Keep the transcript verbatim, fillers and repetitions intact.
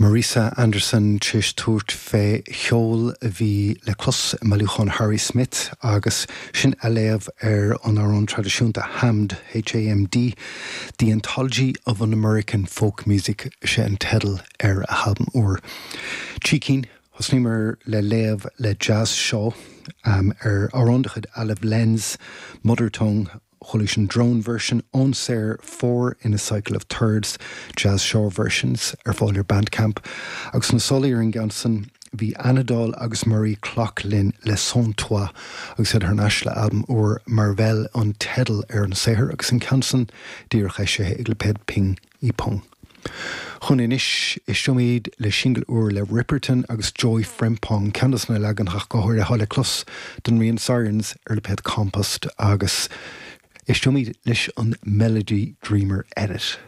Marisa Anderson tar éis tabhairt fé cheol a bhí le clos i mbailiúchán Harry Smith agus sin athléamh ar an amhrán traidisiúnta Hamd HAMD, The Anthology of an American Folk Music sé an teideal ar a halbam úr. Trí cinn Thosnaíomar le léamh le Jazz Shaw um, ar amhrán de chuid Olive Lenz, Mother Tongue, chuala an drone version Onsair four in a cycle of thirds jazz Shaw versions ar fáil ar Bandcamp agus na solaí ar an gceann san bhí Anadol agus Murray Klock linn le Sans Toi agus iad thar n-ais le albam úr Marvel an teideal ar an saothar agus an ceann san díreach eisithe ag lipéad Ping y Pong. Chun anois éisteoimid le singil úr le Ripperton agus Joy Frempong ceann des na leaganacha go háirithe le clos den rian Sirens ar lipéad Compost agus éisteoimid leis an Melody Dreamer Edit.